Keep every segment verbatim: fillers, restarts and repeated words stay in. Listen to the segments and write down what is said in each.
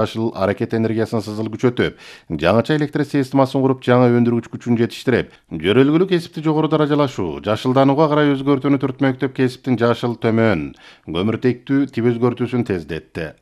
жашыл аракет энергиясын сызыл күчөтүп, жаңыча электр системасын куруп, жаңа өндүргүч күчүн жетиштирип, жөрөлгүлүү кесипти жогору даражалашуу, жашылданууга карай өзгөртүүнү түртмөктөп, кесиптин жашыл төмөн, көмүртектүү тип өзгөртүүсүн тездетти.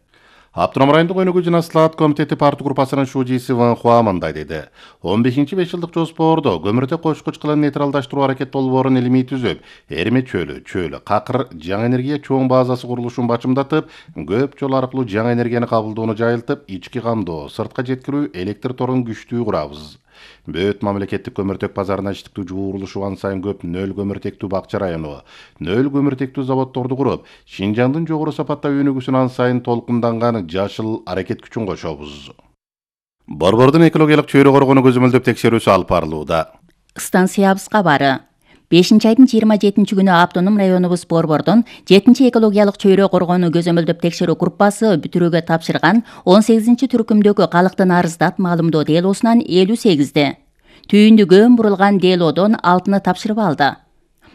Автоном райондук өнүгүү жана слаат комитети парты группасынын шужиси Ван Хуа мындай деди. он бешинчи беш жылдык жоспордо көмүртек кошкуч кылын нейтралдаштыруу аракет долбоорун илимий түзүп, Эриме чөлү, чөл, Какыр жаңы энергия чоң базасы курулушун бачымдатып, көп жол аркылуу жаңы энергияны кабылдоону жайылтып, ички камдоо, сыртка жеткирүү электр торун күчтүү курабыз. Бөт мамлекеттик көмүртек базарына иштиктүү жуурулушу ан сайын көп нөл көмүртектүү Бакча району, нөл көмүртектүү заводдорду куруп, Шинжаңдын жогору сапаттагы өнүгүүсүн ан сайын толкунданган жашыл аракет күчүн кошобуз. Борбордун экологиялык чөйрө коргонуу көзөмөлдөп текшерүүсү алып барылууда. Станциябыз кабары. бешинчи айдын жыйырма жетинчи күнү автоном районубуз Борбордон жетинчи экологиялык чөйрө коргонуу көзөмөлдөп текшерүү группасы бүтүрүүгө тапшырган он сегизинчи түркүмдөгү калктын арыздат маалымдоо делосунан элүү сегизди. Түйүндү көм бурулган делодон алтыны тапшырып алды.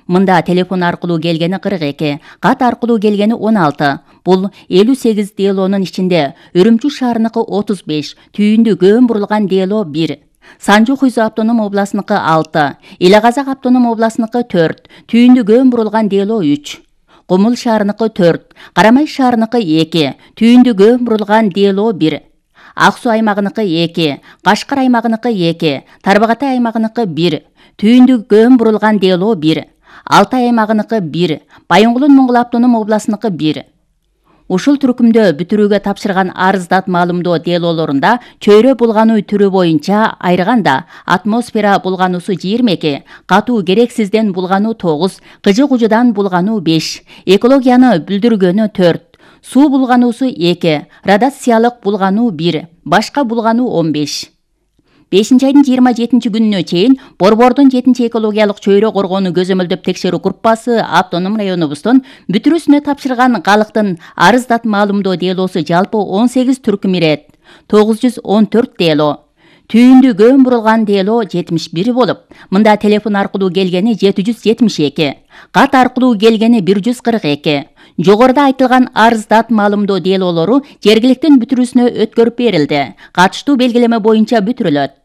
Мында телефон аркылуу келгени кырк эки, кат аркылуу келгени он алты. Бул элүү сегиз делонун ичинде Үрүмчү шаарыныкы отуз беш, түйүндү көм бурулган дело бир. Санжу Хуйзу автоном областыныкы алты, Эле Казак автоном областыныкы төрт, түйүндү көм бурулган дело үч. Кумул шаарыныкы төрт, Карамай шаарыныкы эки, түйүндү көм бурулган дело бир. Ак Суу аймагыныкы эки, Кашкар аймагыныкы эки, Тарбагатай аймагыныкы бир, түйүндү көм бурулган дело бир. Алтай аймагыныкы бир, Байынгулун Моңгол автоном областыныкы бир. Ушул түркүмдө бүтүрүүгө тапшырган арыздат маалымдоо делолорунда чөйрө булгануу түрү боюнча айрганда атмосфера булгануусу жыйырма эки, катуу керексизден булгануу тогуз, кыжы-кужудан булгануу беш, экологияны бүлдүргөнү төрт, суу булгануусу эки, радиациялык булгануу бир, башка булгануу он беш. бешинчи айдын жыйырма жетинчи күнүнө чейин Борбордун жетинчи экологиялык чөйрө коргонуу көзөмөлдөп текшерүү группасы автоном районубуздун бүтүрүүсүнө тапшырган калктын арыздат маалымдоо делосу жалпы он сегиз түркүм ирет, тогуз жүз он төрт дело. Түйүндү көм бурулган дело жетимиш бир болуп, мында телефон аркылуу келгени жети жүз жетимиш эки, кат аркылуу келгени бир жүз кырк эки. Жогоруда айтылган арыздат маалымдоо делолору жергиликтин бүтүрүүсүнө өткөрүп берилди. Катыштуу белгилеме боюнча бүтүрүлөт.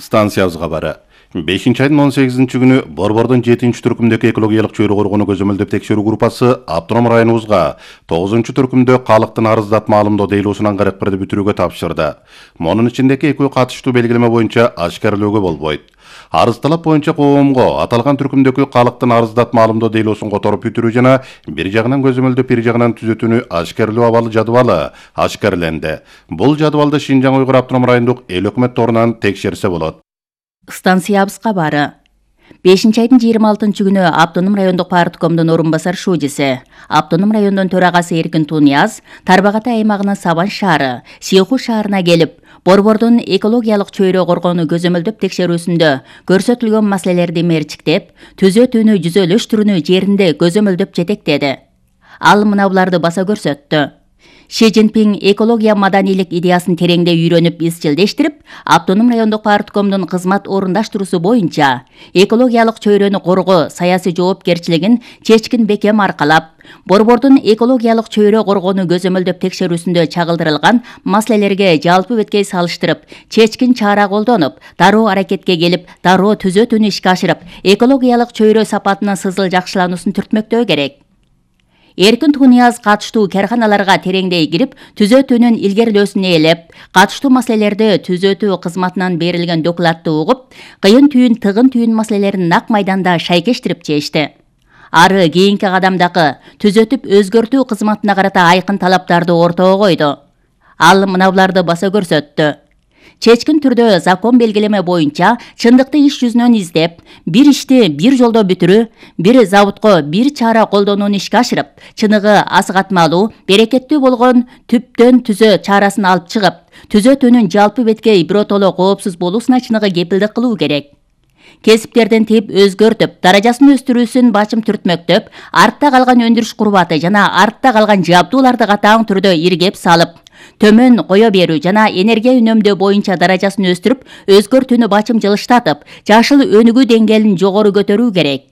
Станциябыз кабары. бешинчи айдын он сегизинчи күнү Борбордун жетинчи түркүмдөгү экологиялык чөйрө коргонуу көзөмөлдөп текшерүү группасы автоном районубузга тогузунчу түркүмдө калктын арыздат маалымдоо делосунан кырк бирди бүтүрүүгө тапшырды. Монун ичиндеги экөө катыштуу белгилеме боюнча ашкерлөөгө болбойт. Арыз талап боюнча коомго аталган түркүмдөгү калктын арыздат маалымдоо делосун которуп бүтүрүү жана бир жагынан көзөмөлдөп бир жагынан түзөтүүнү ашкерлөө абалы жадыбалы ашкерленди. Бул жадыбалды Шинжаң Уйгур автоном райондук эл өкмөт торунан текшерсе болот. Станциябыз кабары. бешинчи айдын жыйырма алтынчы күнү автоном райондук парткомдун орун басар шужиси, автоном райондун төрагасы Эркин Тунияз Тарбагатай аймагынын Сабан шаары, Сыйху шаарына келип, Борбордун экологиялык чөйрө коргонуу көзөмөлдөп текшерүүсүндө көрсөтүлгөн маселелерди мерчиктеп, түзөтүүнү жүзөлөштүрүүнү жеринде көзөмөлдөп жетектеди. Ал мына буларды баса көрсөттү. Ши Цзиньпин экология маданийлик идеясын тереңдей үйрөнүп изчилдештирип, автоном райондук парткомдун кызмат орундаштыруусу боюнча экологиялык чөйрөнү коргоо саясий жоопкерчилигин чечкин бекем аркалап, Борбордун экологиялык чөйрө коргонуу көзөмөлдөп текшерүүсүндө чагылдырылган маселелерге жалпы беткей салыштырып, чечкин чара колдонуп, дароо аракетке келип, дароо түзөтүүнү ишке ашырып, экологиялык чөйрө сапатынын сызыл жакшылануусун түртмөктөө керек. Эркин Тунияз катыштуу карканаларга тереңдей кирип, түзөтүүнүн илгерилөөсүн ээлеп, катыштуу маселелерди түзөтүү кызматынан берилген докладты угуп, кыйын түйүн тыгын түйүн маселелерин нак майданда шайкештирип чечти. Ары кийинки кадамдагы түзөтүп өзгөртүү кызматына карата айкын талаптарды ортого койду. Ал мына буларды баса көрсөттү. Чечкин түрдө закон белгилеме боюнча чындыкты иш жүзүнөн издеп, бир ишти бир жолдо бүтүрүү, бир заводко бир чара колдонууну ишке ашырып, чыныгы асыгатмалуу, берекеттүү болгон түптөн түзөө чарасын алып чыгып, түзөтүүнүн жалпы беткей биротоло коопсуз болуусуна чыныгы кепилдик кылуу керек. Кесиптердин тип өзгөртүп, даражасын өстүрүүсүн бачым түртмөктөп, артта калган өндүрүш курбаты жана артта калган жабдууларды катаң түрдө иргеп салып, төмөн кое берүү жана энергия үнөмдөө боюнча даражасын өстүрүп, өзгөртүүнү бачым жылыштатып, жашыл өнүгүү деңгээлин жогору көтөрүү керек.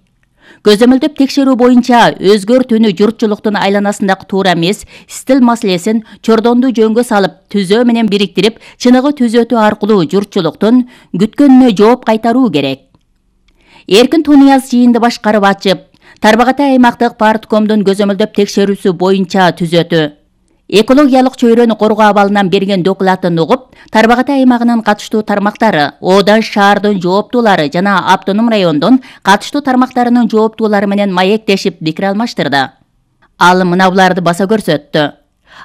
Көзөмөлдөп текшерүү боюнча өзгөртүүнү журтчулуктун айланасындагы туура эмес стил маселесин чордонду жөнгө салып түзөө менен бириктирип, чыныгы түзөтүү аркылуу журтчулуктун күткөнүнө жооп кайтаруу керек. Эркин Тунияз жыйынды башкарып ачып, Тарбагатай аймактык парткомдун көзөмөлдөп текшерүүсү боюнча түзөтүү экологиялык чөйрөнү коргоо абалынан берген докладын угуп, Тарбагатай аймагынын катыштуу тармактары, Одан шаардын жооптуулары жана автоном райондун катыштуу тармактарынын жооптуулары менен маектешип пикир алмаштырды. Ал мына буларды баса көрсөттү.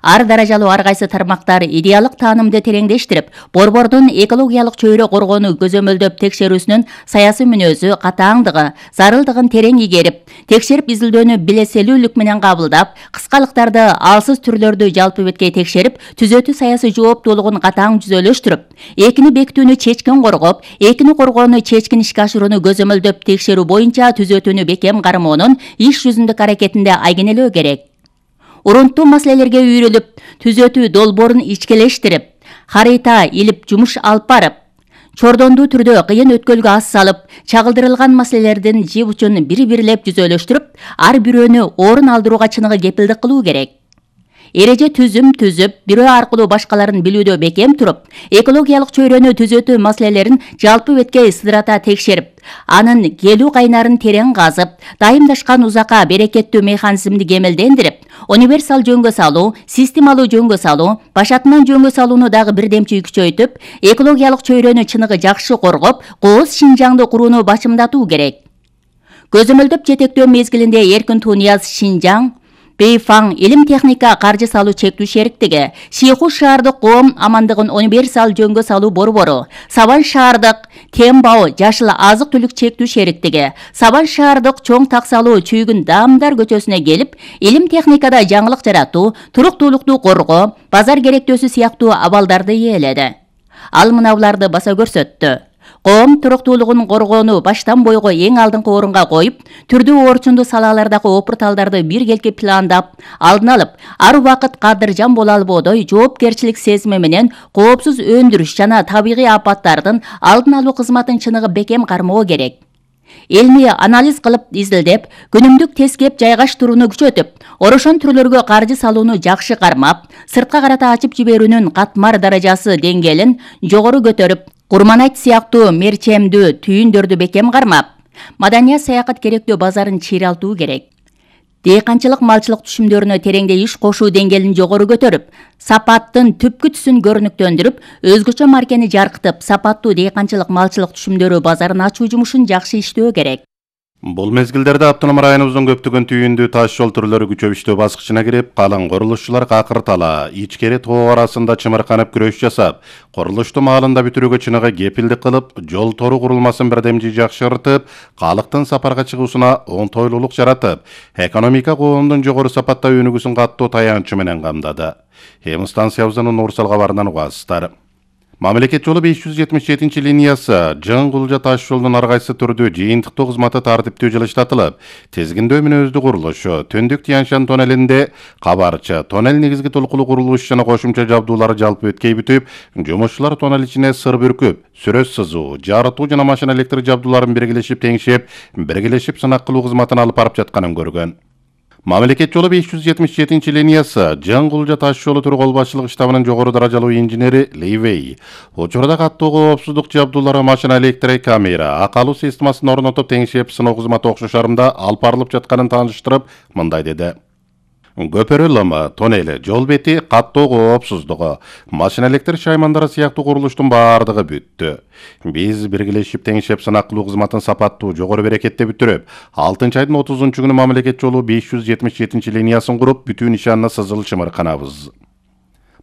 Ар даражалуу ар кайсы тармактар идеалык таанымды тереңдештирип, борбордун экологиялык чөйрө коргоону көзөмөлдөп текшерүүсүнүн саясий мүнөзү, катааңдыгы, зарылдыгын терең игерип, текшерип изилдөөнү билеселүүлүк менен кабылдап, кыскалыктарды, алсыз түрлөрдү жалпы беткей текшерип, түзөтүү саясий жооптуулугун катаң жүзөлөштүрүп, экини бекитүүнү чечкин коргоп, экини коргоону чечкин ишке ашырууну көзөмөлдөп текшерүү боюнча түзөтүүнү бекем кармоонун иш жүзүндүк аракетинде айгинелөө керек. Урунттуу маселелерге үйрүлүп, түзөтүү долбоорун ичкелештирип, харита илип жумуш алып барып, чордондуу түрдө кыйын өткөлгө ас салып, чагылдырылган маселелердин жип учун бири-бирлеп жүзөлөштүрүп, ар бирөөнү орун алдырууга чыныгы кепилдик кылуу керек. Эреже түзүм түзүп, бирөө аркылуу башкаларын билүүдө бекем туруп, экологиялык чөйрөнү түзөтүү маселелерин жалпы беткей сыдырата текшерип, анын келүү кайнарын терең казып, дайымдашкан узакка берекеттүү механизмди кемелдендирип, универсал жөнгө салуу, системалуу жөнгө салуу, башатынан жөнгө салууну дагы бирдемчи күчөйтүп, экологиялык чөйрөнү чыныгы жакшы коргоп, кооз Шинжаңды курууну башымдатуу керек. Көзөмөлдөп жетектөө мезгилинде Эркин Тунияз Шинжаң, Бейфаң илим техника каржы салуу чектүү шериктиги, Шейху шаардык коом амандыгын универсал жөнгө салуу борбору, Сабан шаардык Тембао жашыл азык түлүк чектүү шериктиги, Сабан шаардык чоң так салуу чүйгүн Даамдар көчөсүнө келип, илим техникада жаңылык жаратуу, туруктуулукту коргоо, базар керектөөсү сыяктуу абалдарды ээледи. Ал мына буларды баса көрсөттү. Коом туруктуулугун коргоону баштан бойго эң алдыңкы орунга коюп, түрдүү орчундуу салалардагы опурталдарды биргелки пландап, алдын алып, ар убакыт кадыржан боло албоодой жоопкерчилик сезими менен коопсуз өндүрүш жана табигый апаттардын алдын алуу кызматын чыныгы бекем кармоо керек. Элми анализ кылып изилдеп, күнүмдүк тескеп жайгаштырууну күчөтүп, орошон түрлөргө каржы салууну жакшы кармап, сыртка карата ачып жиберүүнүн катмар даражасы деңгээлин жогору көтөрүп, Курманайт сыяктуу мерчемдүү түйүндөрдү бекем кармап, маданият саякат керектөө базарын чыйралтуу керек. Дыйканчылык малчылык түшүмдөрүнө тереңде иш кошуу деңгээлин жогору көтөрүп, сапаттын түпкү түсүн көрүнүктөндүрүп, өзгөчө маркени жаркытып, сапаттуу дыйканчылык малчылык түшүмдөрү базарын ачуу жумушун жакшы иштөө керек. Бул мезгилдерде автоном районубуздун көптөгөн түйүндүү таш жол түрлөрү күчөбүштөө баскычына кирип, калың курулушчулар какыртала, ичкери тоо арасында чымырканып күрөш жасап, курулушту маалында бүтүрүүгө чыныгы кепилдик кылып, жол тору курулмасын бирдемчи жакшыртып, калктын сапарга чыгуусуна оңтойлуулук жаратып, экономика коомдун жогору сапатта өнүгүүсүн каттуу таянычы менен камдады. Эми станциябыздын Нурсал кабарынан угасыздар. Мамлекет жолу беш жүз жетимиш жетинчи линиясы Жын Кулжа таш жолдун ар кайсы түрдүү жыйынтыктоо кызматы тартиптүү жылыштатылып, тизгиндөө мүнөздүү курулушу, Төндүк Тянь-Шань тоннелинде кабарчы, тоннель негизги толкулуу курулуш жана кошумча жабдуулары жалпы өткөй бүтүп, жумушчулар тоннель ичине сыр бүркүп, сүрөз сызуу, жарытуу жана машина электр жабдууларын биргелешип теңшеп, биргелешип сынак кылуу кызматын алып барып жатканын көргөн. Мамлекет жолу беш жүз жетимиш жетинчи линиясы Жын Кулжа таш жолу түрү кол башчылык штабынын жогору даражалуу инженери Ливей учурда каттуу коопсуздук жабдуулары, машина электр камера, акалуу системасын орнотуп теңшеп сыноо кызматы окшош арымда алып барылып жатканын тааныштырып, мындай деди. Көпөрө лымы, тоннели, жол бети, каттоо коопсуздугу, машина электр шаймандары сыяктуу курулуштун баардыгы бүттү. Биз биргелешип теңшеп сынак кылуу кызматын сапаттуу, жогору берекетте бүтүрүп, алтынчы айдын отузунчу күнү мамлекет жолу беш жүз жетимиш жетинчи линиясын куруп, бүтүү нишанына сызыл чымырканабыз.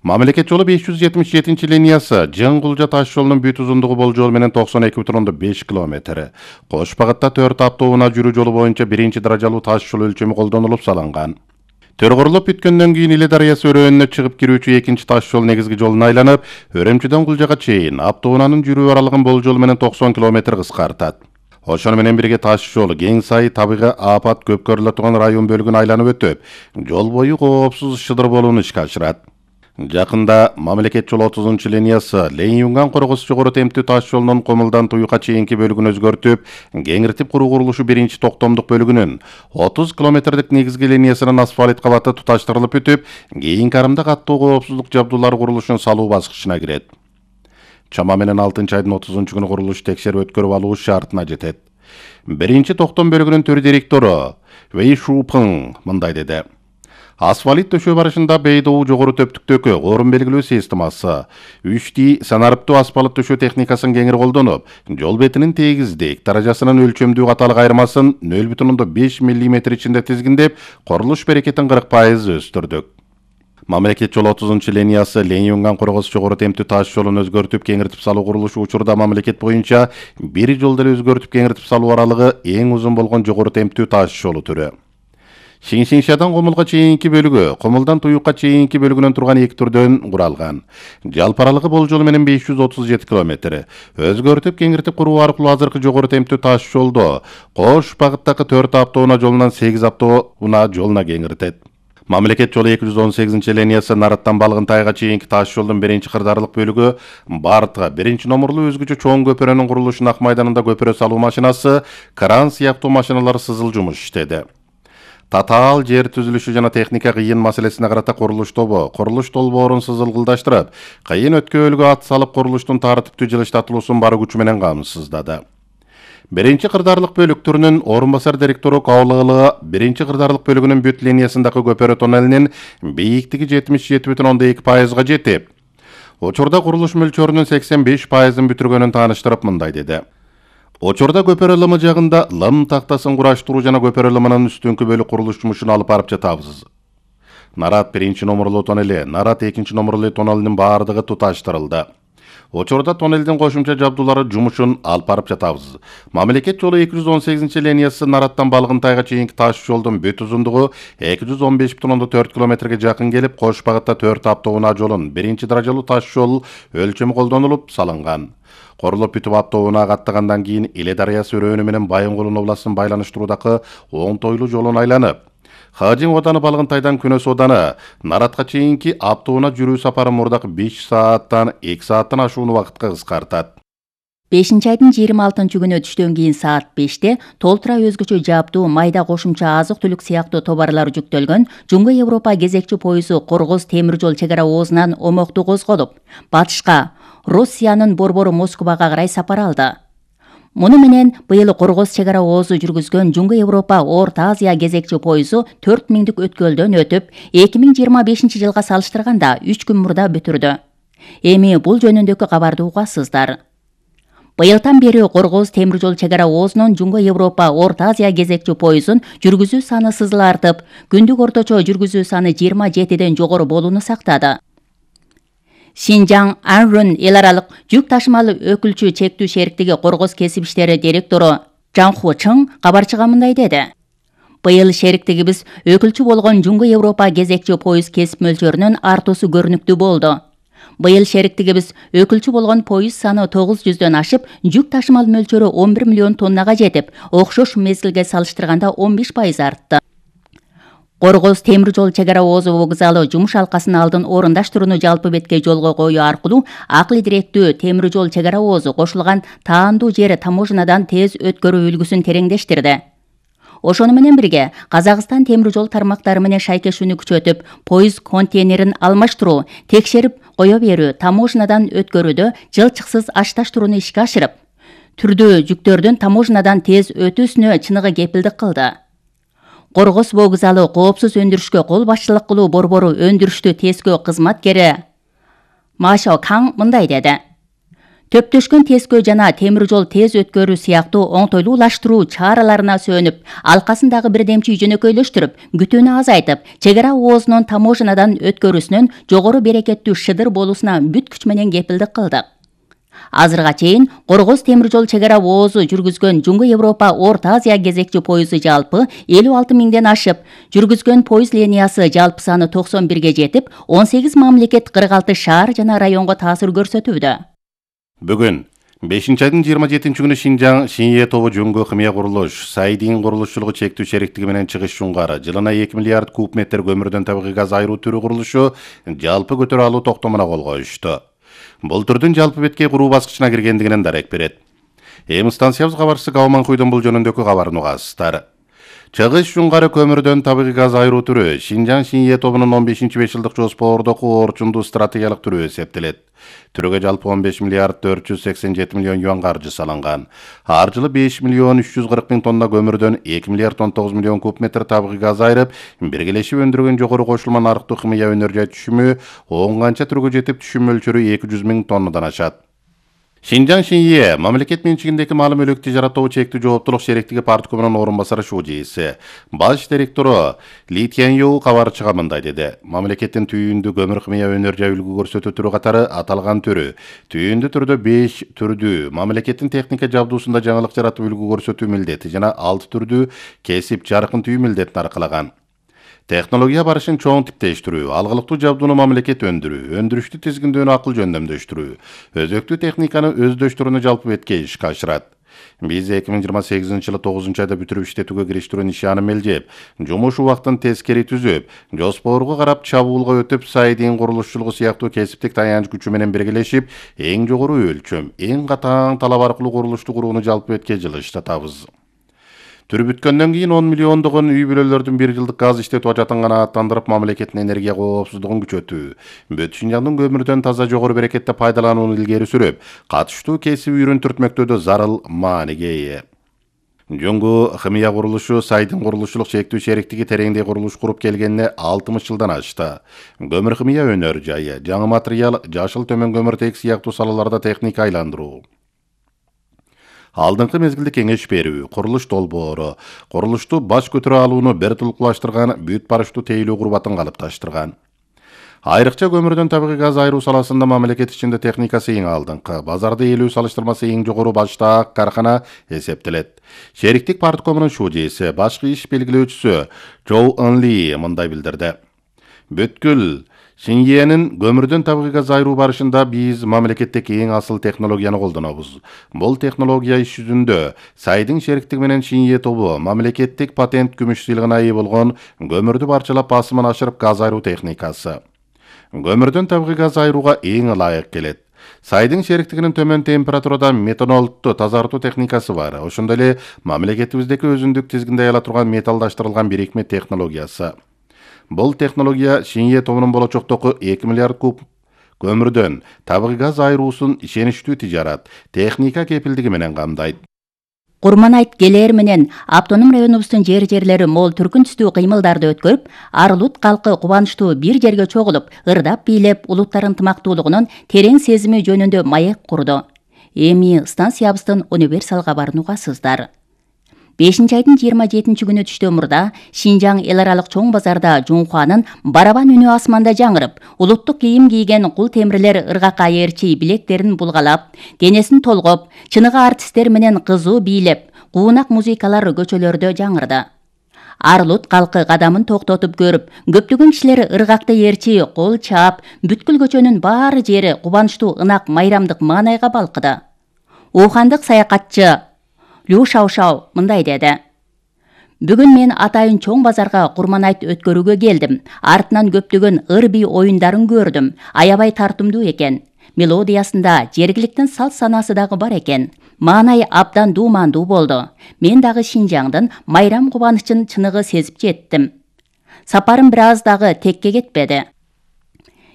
Мамлекет жолу беш жүз жетимиш жетинчи линиясы Жын Кулжа таш жолунун бүт узундугу болжол менен токсон эки бүтүн ондон беш километр. Кош багытта төрт автоунаа жүрүү жолу боюнча биринчи даражалуу таш жол өлчөмү колдонулуп салынган. Төргөрүлүп бүткөндөн кийин Иле дарыясы өрөөнүнө чыгып кирүүчү экинчи таш жол негизги жолуна айланып, Өрөмчүдөн Кулжага чейин автоунаанын жүрүү аралыгын болжол менен токсон километр кыскартат. Ошону менен бирге таш жол кең сай табигый апат көп көрүлө турган район бөлүгүн айланып өтүп, жол бою коопсуз шыдыр болууну ишке ашырат. Жакында мамлекет жолу отузунчу линиясы Ленин-Юнган Коргос жогору темптүү таш жолунун Комулдан Туюкка чейинки бөлүгүн өзгөртүп, кеңиртип куруу курулушу биринчи токтомдук бөлүгүнүн отуз километрдик негизги линиясынын асфальт кабаты туташтырылып бүтүп, кийинки арымда каттуу коопсуздук жабдуулары курулушун салуу баскычына кирет. Чама менен алтынчы айдын отузунчу күнү курулуш текшерип өткөрүп алуу шартына жетет. Биринчи токтом бөлүгүнүн төр директору Вэй Шупың мындай деди. Асфальт төшөө барышында Бейдоу жогору төптүктөгү орун белгилөө системасы, үч ди санарыптуу асфальт төшөө техникасын кеңири колдонуп, жол бетинин тегиздик даражасынын өлчөмдүү каталык айырмасын нөл бүтүн ондон беш миллиметр ичинде тизгиндеп, курулуш берекетин кырк пайыз өстүрдүк. Мамлекет жолу отузунчу линиясы Ленин-Юнган Коргос жогору темптүү таш жолун өзгөртүп кеңиртип салуу курулушу учурда мамлекет боюнча бир жолду эле өзгөртүп кеңиртип салуу аралыгы эң узун болгон жогору темптүү таш жолу түрү. Шиншиншадан Комулга чейинки бөлүгү, Комулдан Туюкка чейинки бөлүгүнөн турган эки түрдөн куралган. Жалпы аралыгы болжолу менен беш жүз отуз жети километр. Өзгөртүп кеңиртип куруу аркылуу азыркы жогору темптүү таш жолду Кош багыттагы төрт автоунаа жолунан сегиз автоунаа жолуна кеңиртет. Мамлекет жолу эки жүз он сегизинчи линиясы Нараттан Балгынтайга чейинки таш жолдун биринчи кырдаарлык бөлүгү Бартка биринчи номурлуу өзгөчө чоң көпүрөнүн курулушун Ак майданында көпүрө салуу машинасы, кран сыяктуу машиналар сызыл жумуш иштеди. Татаал жер түзүлүшү жана техника кыйын маселесине карата курулуш тобу курулуш долбоорун сызылгылдаштырып, кыйын өткөөлгө ат салып курулуштун тартиптүү жылыштатылуусун бар күчү менен камсыздады. Биринчи кырдаарлык бөлүк түрүнүн орун басар директору Каулыгылы биринчи кырдаарлык бөлүгүнүн бүт линиясындагы көпөрө тоннелинин бийиктиги жетимиш жети бүтүн ондон эки пайызга жетип, учурда курулуш мөлчөрүнүн сексен беш пайызын бүтүргөнүн тааныштырып мындай деди. Учурда көпөрө лымы жагында лым тактасын кураштыруу жана көпөрө лымынын үстүңкү бөлүк курулуш жумушун алып барып жатабыз. Нарат биринчи номурлуу тоннели, Нарат экинчи номурлуу тоннелинин баардыгы туташтырылды. Учурда тоннелдин кошумча жабдуулары жумушун алып барып жатабыз. Мамлекет жолу эки жүз он сегизинчи линиясы Нараттан Балгынтайга чейинки таш жолдун бүт узундугу эки жүз он беш бүтүн ондон төрт километрге жакын келип, Кош багытта төрт автоунаа жолун биринчи даражалуу таш жол өлчөмү колдонулуп салынган. Корулуп бүтүп автоунаа каттагандан кийин Иле дарыясы өрөөнү менен Байынгулун областын байланыштыруудагы Оң Тойлуу жолун айланып, Хажин Оданы Балгынтайдан Күнөс Оданы Наратка чейинки автоунаа жүрүү сапары мурдакы беш сааттан эки сааттан ашууну убакытка кыскартат. бешинчи айдын жыйырма алтынчы күнү түштөн кийин саат беште толтура өзгөчө жабдуу майда кошумча азык-түлүк сыяктуу товарлар жүктөлгөн Жуңгу Европа кезекчи поезу Коргоз темир жол чек ара оозунан омокту козголуп, батышка Россиянын борбору Москвага карай сапар алды. Муну менен быйыл Коргоз чек ара оозу жүргүзгөн Жуңгу Европа Орто Азия кезекчи поезу төрт миңдик өткөлдөн өтүп, эки миң жыйырма бешинчи жылга салыштырганда үч күн мурда бүтүрдү. Эми бул жөнүндөгү кабарды угасыздар. Быйылдан бери Коргоз темир жол чек ара оозунун Жуңгу Европа Орто Азия кезекчи поезун жүргүзүү саны сызыл артып, күндүк орточо жүргүзүү саны жыйырма жетиден жогору болууну сактады. Шинжаң Анрун эл аралык жүк ташымалы өкүлчү чектүү шериктиги Коргоз кесип иштери директору Жан Хо Чың кабарчыга мындай деди. Быйыл шериктигибиз өкүлчү болгон Жуңгу Европа кезекчи поез кесип мөлчөрүнүн артуусу көрүнүктүү болду. Быйыл шериктигибиз өкүлчү болгон поез саны тогуз жүздөн ашып, жүк ташымал мөлчөрү он бир миллион тоннага жетип, окшош мезгилге салыштырганда он беш пайыз артты. Коргоз темир жол чек ара оозу вокзалы жумуш алкасын алдын орундаштырууну жалпы бетке жолго коюу аркылуу акыл директүү темир жол чек ара оозу кошулган таандуу жер таможнадан тез өткөрүү үлгүсүн тереңдештирди. Ошону менен бирге Казакстан темир жол тармактары менен шайкешүүнү күчөтүп, поез контейнерин алмаштыруу, текшерип кое берүү, таможнадан өткөрүүдө жылчыксыз ашташтырууну ишке ашырып, түрдүү жүктөрдүн таможнадан тез өтүүсүнө чыныгы кепилдик кылды. Коргоз вокзалы коопсуз өндүрүшкө кол башчылык кылуу борбору өндүрүштү тескөө кызматкери Машо Каң мындай деди. Төптөшкөн тескөө жана темир жол тез өткөрүү сыяктуу оңтойлуулаштыруу чараларына сөнүп, алкасындагы бирдемчи жөнөкөйлөштүрүп, күтүүнү азайтып, чек ара оозунун таможнадан өткөрүүсүнүн жогору берекеттүү шыдыр болуусуна бүт күч менен кепилдик кылдык. Азырга чейин Коргоз темир жол чек ара оозу жүргүзгөн Жуңгу Европа Орто Азия кезекчи поезу жалпы элүү алты миңден ашып, жүргүзгөн поез линиясы жалпы саны токсон бирге жетип, он сегиз мамлекет кырк алты шаар жана районго таасир көрсөтүүдө. Бүгүн бешинчи айдын жыйырма жетинчи күнү Шинжаң Шинье тобу Жөнгө химия курулуш Сайдин курулушчулугу чектүү шериктиги менен Чыгыш Жунгары жылына эки миллиард куб метр көмүрдөн табигый газ айыруу түрү курулушу жалпы көтөрө алуу токтомуна кол коюшту. Бул түрдүн жалпы беткей куруу баскычына киргендигинен дарек берет. Эми станциябыз кабарчысы Гауман Куйдун бул жөнүндөгү кабарын угасыздар. Чыгыш Жунгары көмүрдөн табигый газ айыруу түрү Шинжаң Шинье тобунун он бешинчи беш жылдык жоспордогу орчундуу стратегиялык түрү эсептелет. Түрөгө жалпы он беш миллиард төрт жүз сексен жети миллион юан каржы салынган. Ар жылы беш миллион үч жүз кырк миң тонна көмүрдөн эки миллиард он тогуз миллион куб метр табигый газ айырып, биргелешип өндүргөн жогору кошулма нарыктуу химия өнөр жай түшүмү он канча түргө жетип түшүм мөлчөрү эки жүз миң тоннадан ашат. Шинжаң Шинье мамлекет менчигиндеги маалы мүлүк тижарат тобу чектүү жооптулук шериктиги парткомунун орун басары Шужиси баш директору Ли Тянью кабарчыга мындай деди. Мамлекеттин түйүндү көмүр химия өнөр жай үлгү көрсөтүү түрү катары аталган түрү түйүндү түрдө беш түрдүү мамлекеттин техника жабдуусунда жаңылык жаратып үлгү көрсөтүү милдети жана алты түрдүү кесип жаркын түйүү милдетин аркалаган. Технология барышын чоң типтештирүү, алгылыктуу жабдууну мамлекет өндүрүү, өндүрүштү тизгиндөөнү акыл жөндөмдөштүрүү, өзөктүү техниканы өздөштүрүүнү жалпы бетке ишке ашырат. Биз эки миң жыйырма сегизинчи жылы тогузунчу айда бүтүрүп иштетүүгө кириштирүү нишаны мелжеп, жумуш убактын тескери түзүп, жоспорго карап чабуулга өтүп, Сайдин курулушчулугу сыяктуу кесиптик таянч күчү менен биргелешип, эң жогору өлчөм, эң катаң талап аркылуу курулушту курууну жалпы бетке жылыштатабыз. Түрү бүткөндөн кийин он миллиондогон үй бүлөлөрдүн бир жылдык газ иштетүү ажатын канааттандырып, мамлекеттин энергия коопсуздугун күчөтүү, Бүт Шинжаңдын көмүрдөн таза жогору берекетте пайдаланууну илгери сүрүп, катыштуу кесип үрүн түртмөктөдө зарыл мааниге ээ. Жөнгө химия курулушу Сайдин курулушчулук чектүү шериктиги тереңдей курулуш куруп келгенине алтымыш жылдан ашты. Көмүр химия өнөр жайы, жаңы материал, жашыл төмөн көмүртек сыяктуу салаларда техника айландыруу, алдыңкы мезгилде кеңеш берүү, курулуш долбоору, курулушту баш көтөрө алууну бир тулукташтырган, бүт барыштуу тейлөө курбатын калыпташтырган. Айрыкча көмүрдөн табигый газ айыруу саласында мамлекет ичинде техникасы эң алдыңкы, базарда ээлүү салыштырмасы эң жогору баштаак каркана эсептелет. Шериктик парткомунун Шужиси, башкы иш белгилөөчүсү Чоу Ынли мындай билдирди. Бүткүл Шиньенин көмүрдөн табигый газ айыруу барышында биз мамлекеттеги эң асыл технологияны колдонобуз. Бул технология иш жүзүндө Сайдин шериктиги менен Шинье тобу мамлекеттик патент күмүш сыйлыгына ээ болгон көмүрдү барчалап басымын ашырып газ айыруу техникасы. Көмүрдөн табигый газ айырууга эң ылайык келет. Сайдин шериктигинин төмөн температурада метанолду тазартуу техникасы бар. Ошондой эле мамлекетибиздеги өзүндүк тизгинде ала турган металлдаштырылган бирикме технологиясы. Бул технология Шинье тобунун болочоктогу эки миллиард куб көмүрдөн табигый газ айыруусун ишеничтүү тижарат, техника кепилдиги менен камдайт. Курманайт келээр менен автоном районубуздун жер-жерлери мол түркүн түстүү кыймылдарды өткөрүп, Арылут калкы кубанычтуу бир жерге чогулуп, ырдап бийлеп, улуттар ынтымактуулугунун терең сезими жөнүндө маек курду. Эми станциябыздын универсал кабарын угасыздар. бешинчи айдын жыйырма жетинчи күнү түштөн мурда Шинжаң эл аралык чоң базарда Жунхуанын барабан үнү асманда жаңырып, улуттук кийим кийген кул темирлер ыргакка ээрчи билектерин булгалап, денесин толгоп, чыныгы артисттер менен кызуу бийлеп, куунак музыкалар көчөлөрдө жаңырды. Арылут калкы кадамын токтотуп көрүп, көптөгөн кишилер ыргакты ээрчи кол чаап, бүткүл көчөнүн баары жери кубанычтуу ынак майрамдык маанайга балкыды. Ухандык саякатчы Лю Шаушау мындай деди. Бүгүн мен атайын чоң базарга Курманайт өткөрүүгө келдим. Артынан көптөгөн ыр бий оюндарын көрдүм. Аябай тартымдуу экен. Мелодиясында жергиликтин салт санасы дагы бар экен. Маанай абдан дуумандуу болду. Мен дагы Шинжаңдын майрам кубанычын чыныгы сезип жеттим. Сапарым бир аз дагы текке кетпеди.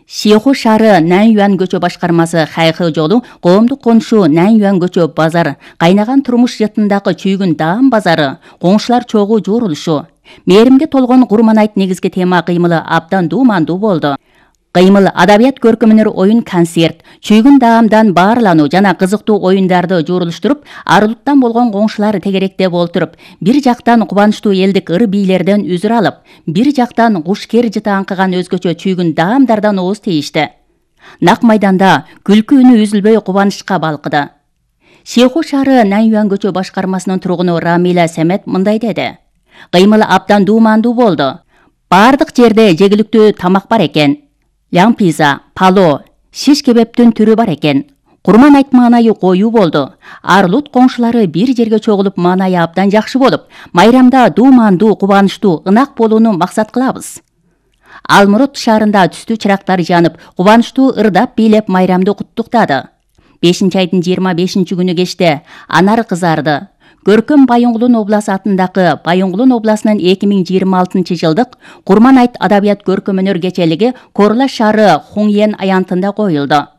Шиху шаары Наньюан көчө башкармасы Хайхы жолу, коомдук конушу Наньюан көчө базар, кайнаган турмуш жытындагы чүйгүн даам базары, коңшулар чогуу жуурулушу. Мээримге толгон Курманайт негизги тема кыймылы абдан дуумандуу болду. Кыймыл адабият көркөмүнөр оюн концерт, чүйгүн даамдан баарлануу жана кызыктуу оюндарды жуурулуштуруп, Арылуттан болгон коңшулар тегеректеп олтуруп, бир жактан кубанычтуу элдик ыр бийлерден үзүр алып, бир жактан куш-кер жыты аңкыган өзгөчө чүйгүн даамдардан ооз тийишти. Нак майданда күлкү үнү үзүлбөй кубанычка балкыды. Шиху шаары Наньюан көчө башкармасынын тургуну Рамила Семет мындай деди. Кыймыл абдан дуумандуу болду. Бардык жерде жегиликтүү тамак бар экен. Ляңпиза, пало, шиш кебептин түрү бар экен. Курман айт маанайы коюу болду. Арлут коңшулары бир жерге чогулуп маанайы абдан жакшы болуп, майрамда дуумандуу, кубанычтуу, ынак болууну максат кылабыз. Алмурут шаарында түстүү чырактар жанып, кубанычтуу ырдап бийлеп майрамды куттуктады. бешинчи айдын жыйырма бешинчи күнү кечте анар кызарды. Көркөм Байоңгулун обласы атындагы Байоңгулун обласынын эки миң жыйырма алтынчы жылдык Курман айт адабият көркөм өнөр кечелиги Корлаш шаары Хуңьен аянтында коюлду.